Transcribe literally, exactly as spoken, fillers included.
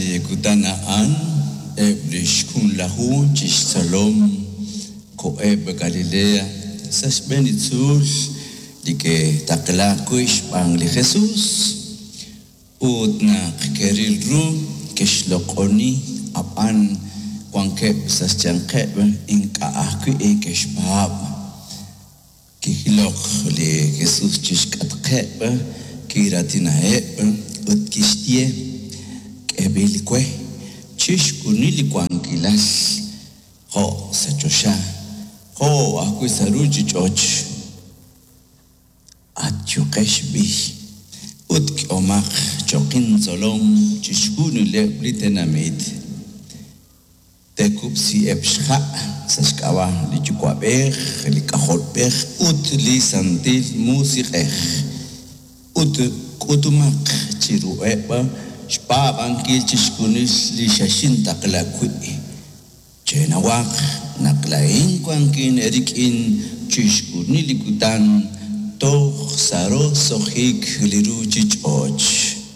Sa' li kutan a'an eb' li xjunlaju chi xtzolom koheb' Galilea sa' xb'een li tzuul li ke'taqlaak wi' xb'aan li Jesus. Ut naq ke'ril ru, ke'xloq'oni, ab'an wankeb' sa' xyanqeb' ink'a' ajwi' ke'xpaab'. Kijilok li Jesus chi xk'atqeb', kiraatinaheb' ut kixye: K'eeb'il we chixjunil li wankilal jo' sa' choxa jo' ajwi' sa' ruuchich'och'. Atyuqex b'i' ut k'ehomaq cho'q intzolom chixjunileb' li tenamit. Teekub'siheb' xha' sa' xk'ab'a' li Yuwa'b'ej, li K'ajolb'ej ut li Santil Musiq'ej. Ut k'utumaq chiruheb' xpaab'ankil chixjunil li xexintaqla wi'. Chenawaq naq laa'in wankin eerik'in chixjunil li kutan toj sa' roso'jik li ruuchich'och'.